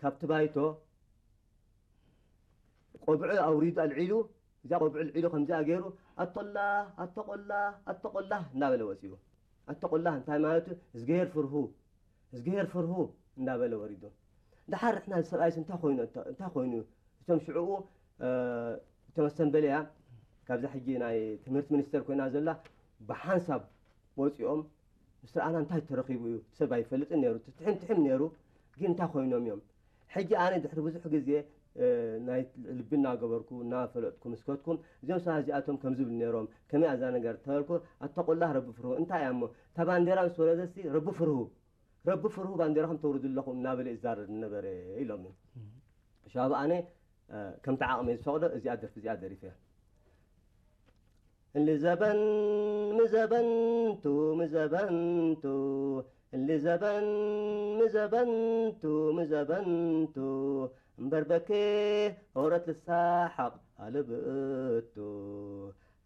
ካብቲ ባይቶ ቆብዑ ኣውሪዱ ኣልዒሉ፣ እዚኣ ቆብዑ ኣልዒሉ ከምዚኣ ገይሩ፣ "ኣቶላ፣ ኣቶቆላ፣ ኣቶቆላ" እናበለ ወፂኡ። ኣቶቆላ እንታይ ማለቱ? "እዝግሄር ፍርሁ፣ እዝግሄር ፍርሁ" እናበለ ወሪዱ። ደሓር ንሕና እዚ ሰብኣይስ እንታይ ኮይኑ፣ እንታይ ኮይኑ? እቶም ሽዕኡ፣ እ፣ እቶም ኣሰምበለያ ካብዛ ሕጂ ናይ ትምህርቲ ሚኒስተር ኮይና ዘላ ብሓንሳብ ወፂኦም፣ "ምስ ረኣና እንታይ ተረኺቡ እዩ? ሰብ ኣይፈልጥን ነይሩ፣ ትሕም ትሕም ነይሩ፣ ግን እንታይ ኮይኖም እዮም?" ሕጂ ኣነ ድሕሪ ብዙሕ ግዜ፣ እ፣ ናይ ልቢ እናገበርኩ፣ እናፈለጥኩ ምስ ከድኩ፣ "እዚኦም ሰባት እዚኣቶም ከም ዝብሉ ነይሮም፣ ከመይ እያ እዛ ነገር?" ተበልኩ፣ "ኣታ ቆላህ ረቢ ፍርሁ፣ እንታይ እያ እሞ? እታ ባንዴራ ምስ ወረደትሲ ረቢ ፍርሁ፣ ረቢ ፍርሁ ባንዴራኹም ተውርዱ ኣለኹም" እናበለ ይዛረብ ነበረ ኢሎምኒ። ሻብ ኣነ፣ እ፣ ከምቲ ዓቕመይ ዝፈቕዶ እዚኣ ደርፊ እዚኣ ደሪፈ እያ። እሊ ዘበን ምዘበንቱ ምዘበንቱ፣ እሊ ዘበን ምዘበንቱ ምዘበንቱ፣ እምበር በኬ ኦረት ልሳሓቕ ኣልብእቱ።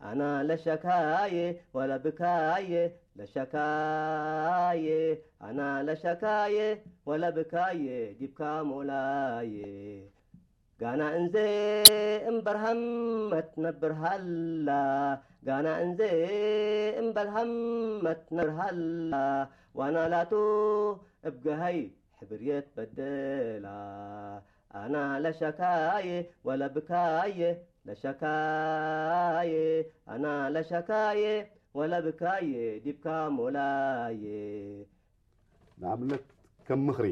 ኣና ለሸካየ ወላ ብካየ፣ ለሸካየ፣ ኣና ለሸካየ ወላ ብካየ፣ ዲብካ ሞላየ። ጋና እንዘ እምበር ሃመት ነብር ሃላ፣ ጋና እንዘ እምበር ሃመት ነብር ሃላ፣ ዋና ላቱ እብ ገሃይ ሕብርየት በደላ። ኣና ለሸካየ ወላ ብካየ፣ ለሸካየ፣ ኣና ለሸካየ ወላ ብካየ፣ ዲብካ ሞላየ። ንኣብነት ከም ምኽሪ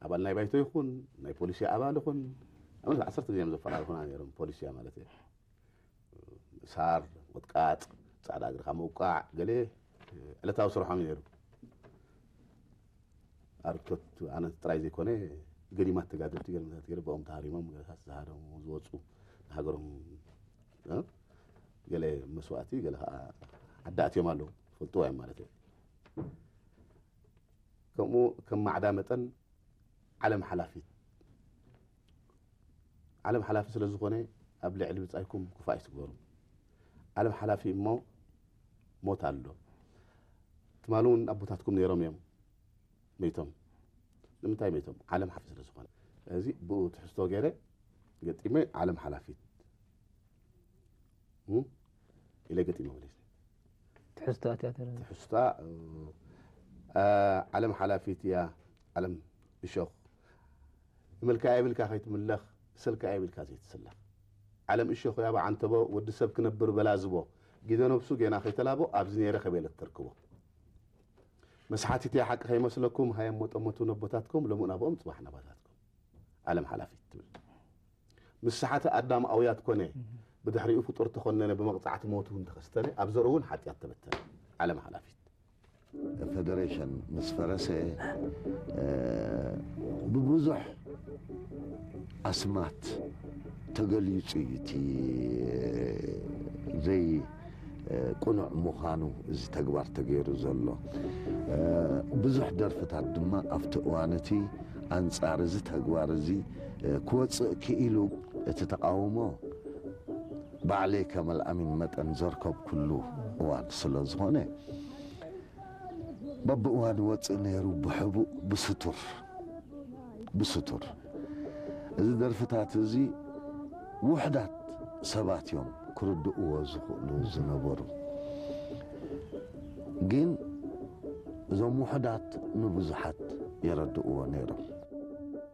ኣባል ናይ ባይቶ ይኹን ናይ ፖሊሲ ኣባል ይኹን፣ ንኣብነት ዓሰርተ ግዜ እዮም ዘፈራርሑና ነይሮም፣ ፖሊሲያ ማለት እየ። ምእሳር፣ ምቕጥቃጥ፣ ጻዕዳ እግርኻ ምውቃዕ፣ ገለ ዕለታዊ ስርሖም እዩ ነይሩ። ኣርክቶት ኣነ ጥራይ ዘይኮነ፣ ገዲማት ተጋደልቲ ገለታት ገለ ብኦም ተሃሪሞም፣ ገለታት ዝሃረሙ፣ ዝወጹ፣ ንሃገሮም፣ እ፣ ገለ መስዋእቲ፣ ገለ ኸዓ ዓዲ ኣትዮም ኣለዉ። ትፈልጥዎ እዮም ማለት እዩ። ከምኡ ከም ማዕዳ መጠን ዓለም ሓላፊት። ዓለም ሓላፊ ስለ ዝኾነ ኣብ ልዕሊ ብጻይኩም ክፉእ ኣይትግበሩ። ዓለም ሓላፊ እሞ ሞት ኣሎ። ትማሊ እውን ኣቦታትኩም ነይሮም እዮም መይቶም። ንምንታይ መይቶም? ዓለም ሓላፊ ስለ ዝኾነ። እዚ ብኡ ትሕዝቶ ገይረ ገጢመ ዓለም ሓላፊት። እም? ኢለ ገጢመ መሊሰ። ትሕዝቶ ኣትያ ተረዳ። ትሕዝታ፣ እ፣ እ፣ ዓለም ሓላፊት እያ፣ ዓለም እሾኽ። እመልካ የብልካ ከይትምለኽ፣ እሰልካ የብልካ ዘይትስለኽ። ዓለም እሾኽ እያ ብዓንተቦ፣ ወዲ ሰብ ክነብር በላዝቦ። ጊደ ነብሱ ጌና ከይተላቦ፣ ኣብዚ ነይረ ከቤለት ተርክቦ። መስሓቲት እያ ሓቂ ከይመስለኩም፣ ሃየም ሞጠሞቱ ነቦታትኩም፣ ሎሚ ናብኦም፣ ጽባሕ ናባታትኩም። ዓለም ሓላፊት ትብል። ምስ ሰሓተ ኣዳም ኣውያት ኮነ፣ ብድሕሪኡ ፍጡር ተኾነነ፣ ብመቕጻዕቲ ሞት እውን ተኸስተነ፣ ኣብ ዘርኡ እውን ሓጢኣት ተበተነ። ዓለም ሓላፊት። ፌደሬሽን ምስ ፈረሰ፣ እ፣ ብብዙሕ ኣስማት ተገሊጹ እዩ እቲ ዘይ፣ እ፣ ቅኑዕ ምዃኑ እዚ ተግባር ተገይሩ ዘሎ። እ፣ ብዙሕ ደርፍታት ድማ ኣብቲ እዋን እቲ ኣንጻር እዚ ተግባር እዚ፣ እ፣ ክወጽእ ክኢሉ፣ እቲ ተቃውሞ ባዕለይ ከም ኣልኣሚን መጠን ዘርከብኩሉ እዋን ስለ ዝኾነ፣ በብእዋን ይወጽእ ነይሩ ብሕቡእ ብስቱር፣ ብስቱር። እዚ ደርፍታት እዚ ውሑዳት ሰባት እዮም ክርድእዎ ዝኽእሉ ዝነበሩ። ግን እዞም ውሑዳት ንብዙሓት የረድእዎ ነይሮም።